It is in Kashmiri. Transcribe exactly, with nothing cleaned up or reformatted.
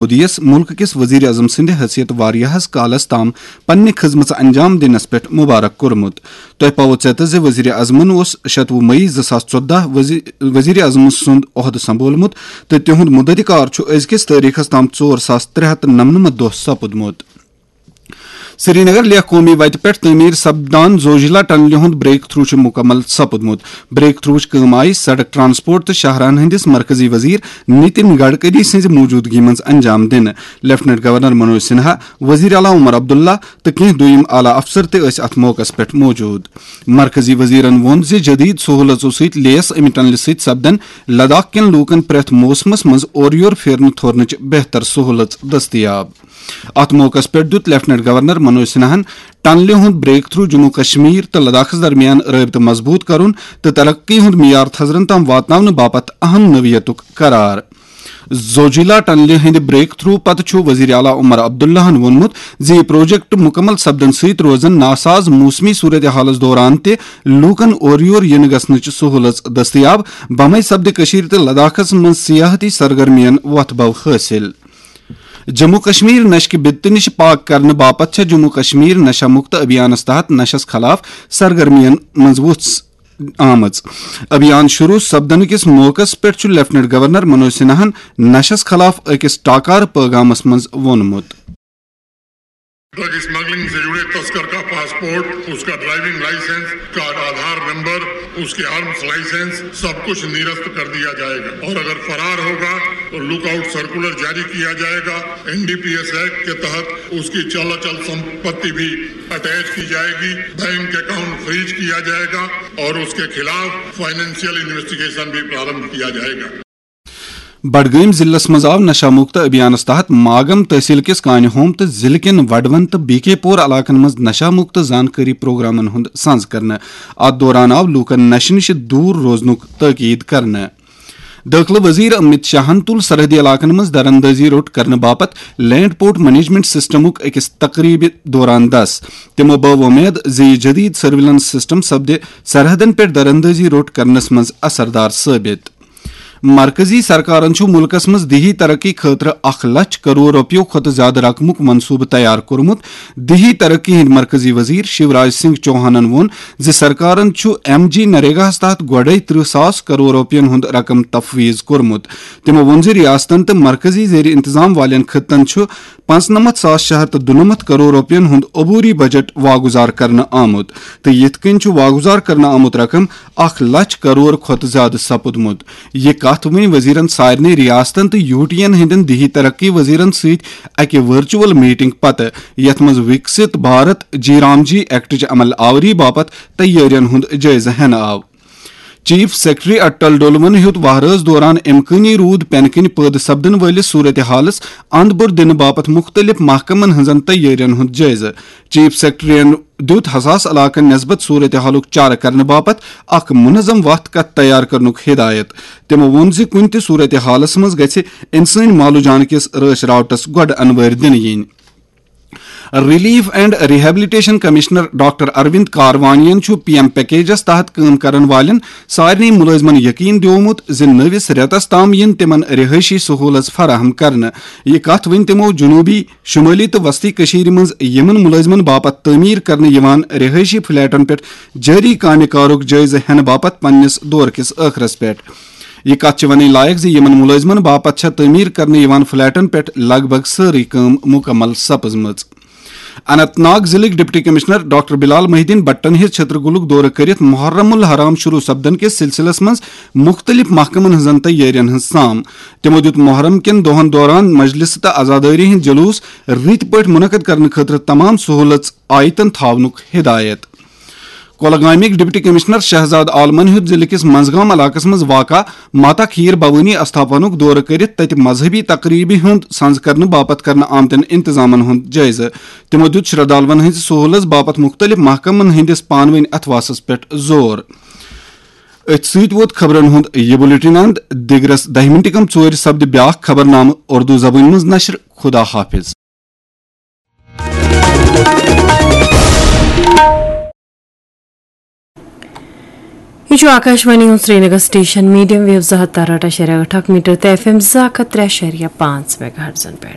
مودی یس ملک کِس وزیر اعظم سٕنٛدِ حیثیت واریاہس کالس تام پننہِ خدمژ انجام دِنس پٮ۪ٹھ مبارک کوٚرمُت۔ تۄہہِ پاوو ژیتس زِ وزیر اعظمن اوس شتوُہ مئی زٕ ساس ژۄدہ وزی-، وزیر اعظم سُنٛد عہدٕ سنبھولمُت تہٕ تِہُنٛد مدت کار چھُ أزکِس تٲریخس تام ژور ساس ترٛےٚ ہتھ نمنمتھ دۄہ سپُدمُت۔ سرینگر لیہ قومی وتہِ پٮ۪ٹھ تعمیر سپدان زوجیلا ٹنلہِ ہُنٛد بریک تھرو چھُ مکمل سپُدمُت۔ بریک تھروٕچ کٲم آیہِ سڑک، ٹرانسپورٹ تہٕ شاہراہن ہٕنٛدِس مرکزی وزیر نتن گڈکری سٕنٛزِ موجودگی منٛز انجام دِنہٕ۔ لیفٹیننٹ گورنر منوج سنہا، وزیر اعلیٰ عمر عبداللہ تہٕ کینٛہہ دوٚیِم اعلیٰ افسر تہِ ٲسۍ اتھ موقعس پٮ۪ٹھ موجود۔ مرکزی وزیرن ووٚن زِ جدید سہولژو سۭتۍ لیس امہِ ٹنلہِ سۭتۍ سپدن لداخ کٮ۪ن لوٗکن پرٛٮ۪تھ موسمس منٛز اورٕ یور پھیرنہٕ تھورنٕچ بہتر سہولژ دٔستیاب۔ اتھ موقعس پٮ۪ٹھ دیُت لیفٹیننٹ گورنر منوج سنہاہن ٹنلہِ ہُنٛد بریک تھرو جموں کشمیر تہٕ لداخس درمیان رٲبطہٕ مضبوط کرُن تہٕ ترقی ہُنٛد معیار تھزرن تام واتناونہٕ باپتھ اہم نوعیتُک قرار۔ زوجیلا ٹنلہِ ہٕنٛدِ بریک تھرو پتہٕ چھُ وزیر اعلیٰ عمر عبداللہن ووٚنمُت زِ یہِ پروجیکٹ مکمل سپدن سۭتۍ روزن ناساز موسمی صورتحالس دوران تہِ لوٗکن اورٕ یور یِنہٕ گژھنٕچ سہولژ دٔستیاب، بمے سپدِ کٔشیٖر تہٕ لداخس منٛز سیاحتی سرگرمین وۄتھ بو حٲصِل۔ جموں کشمیر نشہٕ کہِ بدتہٕ نِش پاک کرنہٕ باپتھ چھےٚ جموں کشمیر نشہ مکت ابھیانس تحت نشس خلاف سرگرمین منٛز وُژھ آمٕژ۔ ابھیان شروع سپدنہٕ کِس موقعس پٮ۪ٹھ چھُ لیفٹیننٹ گورنر منوج سنہاہن نشس خلاف أکِس ٹاکارٕ پٲغامس منٛز ووٚنمُت۔ ڈرگ اسمگلنگ سے جڑے تسکر کا پاسپورٹ، اس کا ڈرائیونگ لائسنس، اس کا آدھار نمبر، اس کے آرمز لائسنس، سب کچھ نرست کر دیا جائے گا اور اگر فرار ہوگا تو لک آؤٹ سرکولر جاری کیا جائے گا۔ N D P S act کے تحت اس کی چل اچل سمپتی بھی اٹیچ کی جائے گی، بینک اکاؤنٹ فریز کیا جائے گا اور اس کے خلاف فائنینشیل انویسٹیگیشن بھی پرارمبھ کیا جائے گا۔ بڈگٲمۍ ضلعس منٛز آو نشہ مکت ابھیانس تحت ماگم تحصیل کِس کانہِ ہوم تہٕ ضلعہٕ کٮ۪ن وڈوَن تہٕ بی کے پور علاقن منٛز نشہ مکت زانکٲری پروگرامن ہُنٛد سنز کرنہٕ۔ اتھ دوران آو لوٗکن نشہٕ نِش دوٗر روزنُک تٲکید کرنہٕ۔ دٲخلہٕ وزیر امت شاہن تُل سرحدی علاقن منٛز دراندازی روٚٹ کرنہٕ باپتھ لینڈ پورٹ مینجمنٹ سسٹمُک أکِس تقریبہِ دوران دس۔ تِمو بٲو وۄمید زِ یہِ جدید سرویلنس سسٹم سپدِ سرحدن پٮ۪ٹھ دراندازی روٚٹ کرنس منٛز اثردار ثٲبت۔ مرکزی سرکارن چھُ مُلکس منٛز دیہی ترقی خٲطرٕ اکھ لچھ کرور رۄپیو کھۄتہٕ زیادٕ رقمُک منصوبہٕ تیار کوٚرمُت۔ دیہی ترقی ہٕنٛدۍ مرکزی وزیر شیوراج سنگھ چوہانن ووٚن زِ سرکارن چھُ ایم جی نریگاہَس تحت گۄڈَے ترٕٛہ ساس کرور رۄپیَن ہُنٛد رقم تفویض کوٚرمُت۔ تِمو ووٚن زِ ریاستن تہٕ مرکزی زیر انتظام والٮ۪ن خطن چھُ پانٛژنمتھ ساس شیٚے ہتھ تہٕ دُنمتھ کرور رۄپیَن ہُنٛد عبوری بجٹ واگُزار کرنہٕ آمُت تہٕ یِتھ کٔنۍ چھُ واگُزار کرنہٕ آمُت رقم اکھ لچھ کرور کھۄتہٕ زیادٕ سپُدمُت۔ یہِ کتھ ؤنۍ وزیرن سارنٕے ریاستن تہٕ یوٗ ٹی ین ہٕنٛدٮ۪ن دیہی ترقی وزیرن سۭتۍ اکہِ ورچوئل میٹنگ پتہٕ، یتھ منٛز وکست بھارت جی رام جی ایکٹٕچ عمل آوری باپتھ تیٲرین ہُنٛد جٲیزٕ ہٮ۪نہٕ آو۔ چیف سیکرٹری اٹل ڈولون ہیوٚت وہرٲژ دوران امکٲنی روٗد پینہٕ کِنۍ پٲدٕ سپدن وٲلِس صورتحالس اند بوٚر دِنہٕ باپتھ مُختٔلِف محکمن ہٕنٛزن تیٲرین ہُنٛد جٲیزٕ۔ چیف سیکرٹریَن دیُت حساس علاقن نسبت صورتحالُک چارٕ کرنہٕ باپتھ اکھ منظم وتھ کتھ تیار کرنُک ہدایت۔ تِمو ووٚن زِ کُنہِ تہِ صورتحالس منٛز گژھِ انسٲنی معلوٗ جان کِس رٲچھ راوٹس گۄڈٕ انوٲرۍ دِنہٕ یِنۍ۔ Relief and rehabilitation commissioner doctor Arvind کاروانین چھُ پی ایم پیکیجس تحت کٲم کرن والٮ۪ن سارنٕے مُلٲزمن یقین دیومُت زِ نٔوِس رٮ۪تس تام یِن تِمن رہٲیشی سہوٗلژ فراہم کرنہٕ۔ یہِ کتھ ؤنۍ تِمو جنوٗبی، شمٲلی تہٕ وسطی کٔشیٖرِ منٛز یِمن مُلٲزمن باپتھ تعمیٖر کرنہٕ یِوان رہٲیشی فلیٹن پٮ۪ٹھ جٲری کامہِ کارُک جٲیزٕ ہٮ۪نہٕ باپتھ پننِس دورٕ کِس ٲخرس پٮ۪ٹھ۔ یہِ کتھ چھِ ونٕنۍ لایق زِ یِمن مُلٲزمن باپتھ چھےٚ تعمیٖر کرنہٕ یِوان فلیٹن پٮ۪ٹھ لگ بھگ سٲرٕے کٲم مُکمل سپٕزمٕژ۔ Anant Nag ضلعٕکۍ deputy commissioner doctor بلال محی الدین بٹن ہیٚژ چھترگُلُک دورٕ کٔرِتھ محرم الحرام شروع سپدن کِس سلسلس منٛز مُختٔلِف محکمن ہٕنٛزن تیٲرین ہٕنٛز سام۔ تِمو دیُت محرم کٮ۪ن دۄہن دوران مجلس تہٕ عزادٲری ہٕنٛدۍ جلوٗس رٕتۍ پٲٹھۍ منعقد کرنہٕ خٲطرٕ تمام سہوٗلژ آیتن تھاونُک ہدایت۔ کۄلگامٕکۍ ڈپٹی کمشنر شہزاد عالمن ہیوٚت ضلعہٕ کِس منزگام علاقس منٛز واقع ماتا کھیٖر بھوانی استھاپنُک دورٕ کٔرِتھ تَتہِ مذہبی تقریبہِ ہُنٛد سنز کرنہٕ باپتھ کرنہٕ آمتٮ۪ن انتظامن ہُنٛد جٲیزٕ۔ تِمو دیُت شردھالوَن ہٕنٛزِ سہوٗلژ باپتھ مُختٔلِف محکمن ہٕنٛدِس پانہٕ ؤنۍ اتھواسس پٮ۪ٹھ زور۔ أتھۍ سۭتۍ ووت خبرن ہُنٛد یہِ بُلٹن اند۔ دِگرس دَہہِ مِنٹہِ کم ژورِ سپدِ بیاکھ خبرنامہٕ اردو زبٲنۍ منٛز نشر۔ خدا حافظ۔ یہ چھُ آکاشوانی ہُنٛد سرینگر سٹیشن، میڈیم ویو زٕ ہتھ تہٕ ٲٹھ اَشاریہ ٲٹھ اکھ میٹر تہٕ ایف ایم زٕ ہتھ ترٛےٚ اَشاریہ پانٛژھ میگا ہرٹزن پٮ۪ٹھ۔